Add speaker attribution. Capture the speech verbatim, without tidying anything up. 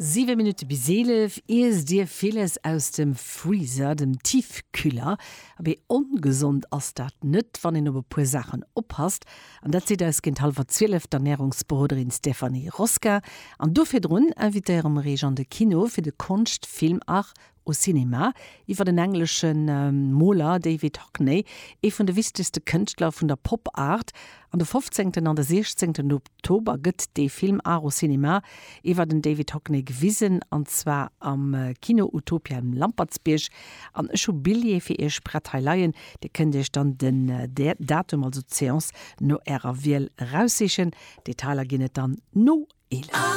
Speaker 1: Siwe Minutte bis eelef. Iesst Dir villes aus dem Freezer, dem Tiefkühler? Abee, ongesond ass dat net, wann een op e puer Saachen oppasst. An dat seet eis géint hallwer zwielef d'Ernärungsberoderin Stéphanie Rosca. An do virdrun invitéiere mer Iech an de Kino fir de Konschtfilm Art au Cinéma iwwer den englesche Moler David Hockney, ee vun de wichtegste Kënschtler vun der Pop Art. An de fofzéngten an de siechzéngten Oktober gëtt dee Film Art au Cinéma iwwer den David Hockney gewisen, an zwar am Kino Utopia um Lampertsbierg. An ech hu Billjeeë fir Iech prett hei leien. Dir kënnt Iech dann den Datum, also d'Seance, no Ärer Wiel eraussichen. Detailer ginn et dann no eelef.